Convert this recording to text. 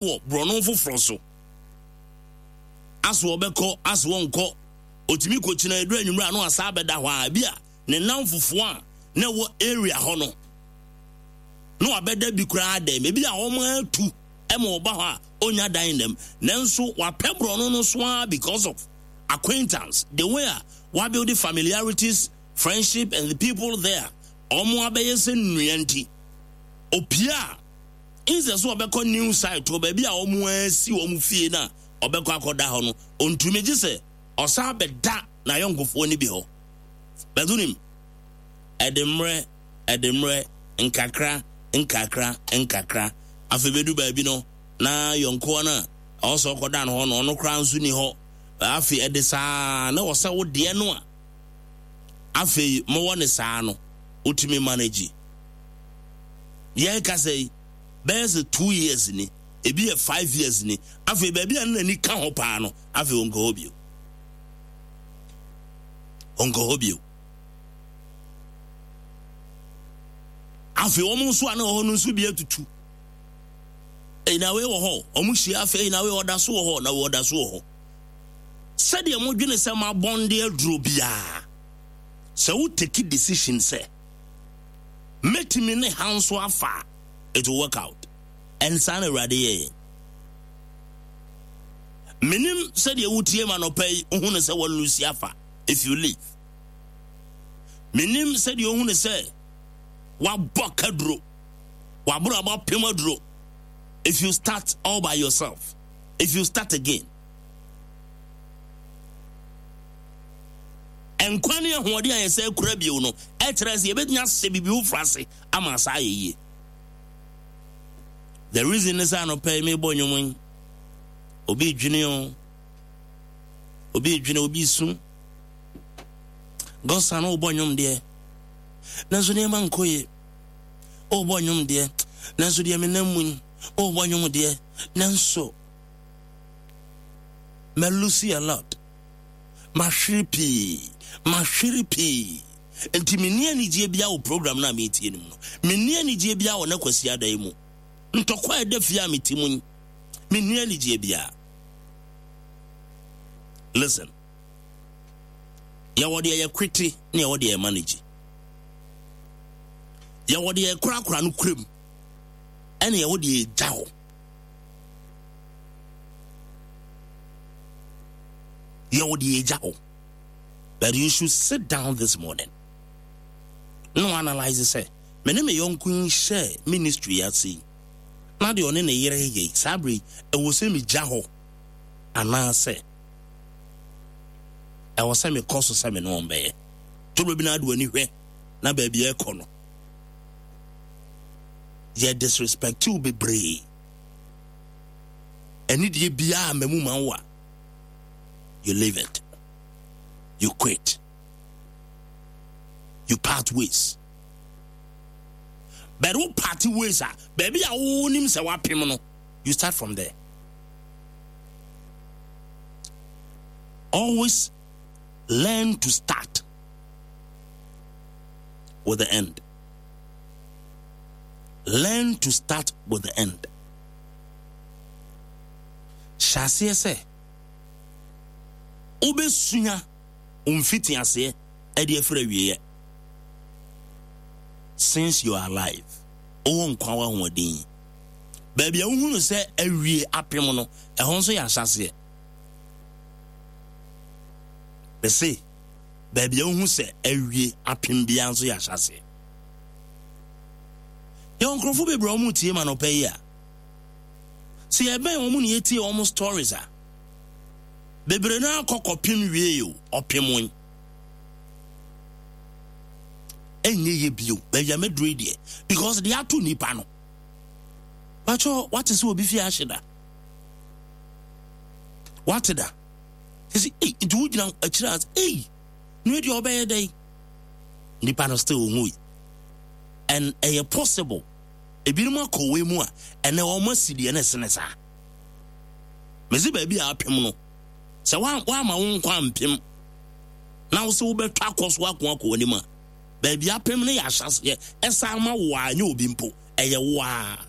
Wɔ borɔno foforɔ so. Aso ɔbɛkɔ, aso ɔnkɔ, ɔtumi kɔkyina ɛduru anwummerɛ a na wasan abɛda hɔ a, ebi a ne nnamfofoɔ a na ɛwɔ area hɔ no na wabɛda bi koraa dɛm. Ebi a wɔn atu ma ɔba hɔ a ɔnya dan nnam. Nanso wapɛ borɔno no so ara because of acquaintance, the way a wabuild familiarities, friendship and the people there. Wɔn abɛyɛ sɛ nnua nti, opie a Instead sɛ ɔbɛkɔ new site hɔ baabi a wɔn asi wɔn fie no a ɔbɛkɔ akɔda hɔ no, ɔntumi gye sɛ ɔsan bɛda n'ayɔnkofoɔ no bi hɔ. But wonim, ɛde mmerɛ, ɛde mmerɛ, nkakra, nkakra, nkakra. Afei bɛdu baabi no, na yɔnkoɔ no a ɛwɔ sɛ ɔkɔda no hɔ no, ɔno koraa nso ni hɔ. Afei ɛde saa na wɔ sɛ wo deɛ no a afei mowɔ ne saa no, wotumi manage. Yɛrekasa yi, bɛyɛ sɛ 2 years ni, ebi yɛ 5 years ni. Afei baabi a ne n'ani ka ho paa no, afei ɔnkɔ hɔ bio. Ɔnkɔ hɔ bio. Afei wɔn nso a na wɔ hɔ no nso bi atutu. Ɛyi na wei wɔ hɔ, wɔn hyia afei na wei ɔda so wɔ hɔ, na wei ɔda so wɔ hɔ. Sɛdeɛ modwene sɛ mabɔnde aduro biara, sɛ wo take decision sɛ mɛtumi ne ha nso afa a, it will work out. And saa na Awurade yɛ yɛn. Menim sɛdeɛ wotie ma nɔpa yi, wohu no sɛ wɔlusi afa if you leave. Menim sɛdeɛ wohu no sɛ wabɔ kaduro, waboro abɔ apem aduro. If you start all by yourself, if you start again. Nkwa ne ahoɔden a yɛsɛ kura bio no, ɛkyerɛ sɛ yɛbɛtumi ahyɛ biribi foforɔ ase ama saa ayɛ yie. The reason ne sɛ anɔpa yi mebɔ nnwom yi, obi dwene o, obi dwene, obi su. Gɔsa no wobɔ nnwom deɛ, nanso nneɛma nkɔ yie. Wobɔ nnwom deɛ, nanso deɛ menam mu yi, wobɔ nnwom deɛ, nanso malose a lot. Mahwere pii, mahwere pii. Nti menni anigyeɛ biara wɔ program no a meretie no mu no. Menni anigyeɛ biara wɔ na Kwasiada yi mu. Ntɔkwa a ɛda fie a mete mu yi, menni anigyeɛ biara. Listen. Yɛwɔ deɛ yɛkwete ne yɛwɔ deɛ yɛma no gye. Yɛwɔ deɛ yɛkorakora no kuram ɛne yɛwɔ deɛ yɛgya hɔ. Yɛwɔ deɛ yɛgya hɔ. But you should sit down this morning. No analyze sɛ, me ne me yɔnko yi hyɛ ministry ase yi, na deɛ ɔne ne yere yɛ yi, saa bere yi, ɛwɔ sɛ megya hɔ anaasɛ ɛwɔ sɛ mekɔ so sɛ me ne wɔn bɛyɛ. Toro bi na ade w'ani hwɛ na baabi ɛkɔ no, yɛ disrespect wo bebree. Ɛne deɛ biara mmamu ma wo a, you leave it. You quit. You part ways. But wo part ways a, baabi a wonim sɛ wapem no, you start from there. Always learn to start with the end. Learn to start with the end. Hyɛ aseɛ sɛ wobɛsua wo mfitiaseɛ ɛde afiri awieɛ. Since you are alive, wowɔ nkwa wɔ ahoɔden yi. Baabi a wohunu sɛ awie apem no, ɛhɔ nso yɛ ahyɛaseɛ. Mese, baabi a wohu sɛ awie apem biara nso yɛ ahyɛaseɛ. Yɛwɔ nkurɔfoɔ bebree a wɔretie ma nɔpɛ yi a, sɛ yɛbɛn wɔn na yɛtie wɔn stories a, bebree no akɔ kɔpem wie o, ɔpem wɔn. Ɛnyɛ yɛ bio, baabi a mɛduru yi deɛ, because deɛ ato nipa no. Pakyɛ, wate sɛ obi fie ahye da? Wate da? Ɛsi, ei, nti wogyina akyire a, ei, no deɛ ɔbɛyɛ dɛn? Nipa no still onwui. And ɛyɛ possible. Ebinom akɔ wei mu a, ɛnɛ wɔn asi deɛ na ɛsene saa. Mesi baabi a apem no, sɛ woama wo nkwa ampem, na wo sɛ wobɛtɔ akɔ so ako akɔ w'anim a, baabi apem no yɛ ahyɛseɛ, ɛsan ma wo a, nyɛ obi mpo, ɛyɛ wo a.